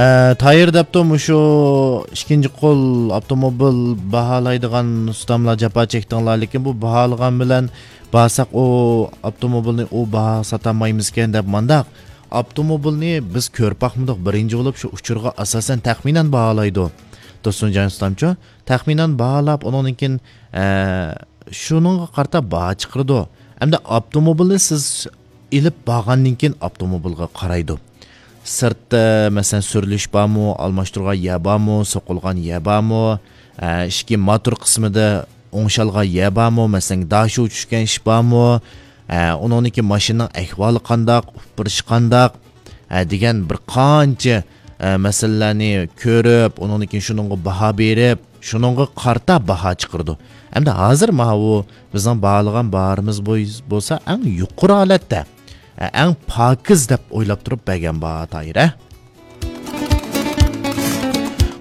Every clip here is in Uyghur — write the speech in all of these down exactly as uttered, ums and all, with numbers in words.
ئە، تايىر دەپتۇ، مۇشۇ ئىككىنچى قول ئاپتوموبىل باھالايدىغان ئۇستاملار جاپا چەكتىڭلار، لېكىن بۇ باھالىغان بىلەن بارساق ئۇ ئاپتوموبىلنى ئۇ باھا ساتالمايمىزكەن دەپ مانداق. ئاپتوموبىلنى بىز كۆرۈپ باقمىدۇق، بىرىنچى بولۇپ شۇ ئۇچۇرغا ئاساسەن تەخمىنەن باھالايدۇ. تۇرسۇنجان ئۇستامچۇ؟ تەخمىنەن باھالاپ، ئۇنىڭدىن كېيىن، ئە، شۇنىڭغا قارىتا باھا چىقىرىدۇ. ئەمدى ئاپتوموبىلنى سىز ئېلىپ بارغاندىن كېيىن ئاپتوموبىلغا قارايدۇ. سىرتتا، مەسىلەن، سۈرۈلۈش بارمۇ، ئالماشتۇرغان يەر بارمۇ، سوقۇلغان يەر بارمۇ، ئە، ئىچكى موتور قىسمىدا ئوڭشالغان يەر بارمۇ، مەسىلەن، داشۇ چۈشكەن ئىش بارمۇ، ئە، ئۇنىڭدىن كېيىن ماشىنىنىڭ ئەھۋالى قانداق، ئۇپرىشى قانداق، ئە، دېگەن بىر قانچە، ئە، مەسىلىلەرنى كۆرۈپ، ئۇنىڭدىن كېيىن شۇنىڭغا باھا بېرىپ، شۇنىڭغا قارىتا باھا چىقىرىدۇ. ئەمدى ھازىر ماۋۇ بىزنىڭ باھالىغان باھارىمىز بوي-، بولسا ئەڭ يۇقىرى ھالەتتە، ئە، ئەڭ پاكىز دەپ ئويلاپ تۇرۇپ بەرگەن باھا تايىر، ھە؟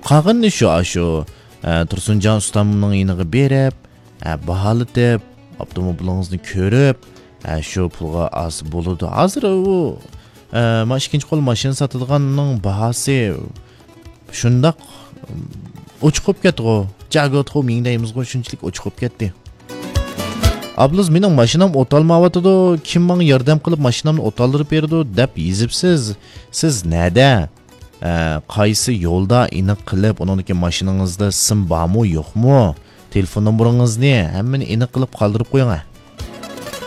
قالغىنىنى شۇ، ئاشۇ، ئە، تۇرسۇنجان ئۇستامنىڭ يېنىغا بېرىپ، ئە، باھالىتىپ، ئاپتوموبىلىڭىزنى كۆرۈپ، ئە، شۇ پۇلغا ئالسا بولىدۇ. ھازىر ئۇ، ئە، ما ئىككىنچى قول ماشىنا ساتىدىغاننىڭ باھاسى شۇنداق، ئم، ئوچۇق بولۇپ كەتتىغۇ. جاگوتخۇ مىڭ دەيمىزغۇ، شۇنچىلىك ئوچۇق بولۇپ كەتتى. ئابلىز، مېنىڭ ماشىنام ئوتالمايۋاتىدۇ، كىم ماڭا ياردەم قىلىپ ماشىنامنى ئوتالدۇرۇپ بېرىدۇ دەپ يېزىپسىز. سىز نەدە؟ ئە، قايسى يولدا؟ ئېنىق قىلىپ، ئۇنىڭدىن كېيىن ماشىنىڭىزدا سىم بارمۇ، يوقمۇ؟ تېلېفون نومۇرىڭىزنى، ھەممىنى ئېنىق قىلىپ قالدۇرۇپ قويۇڭ، ھە.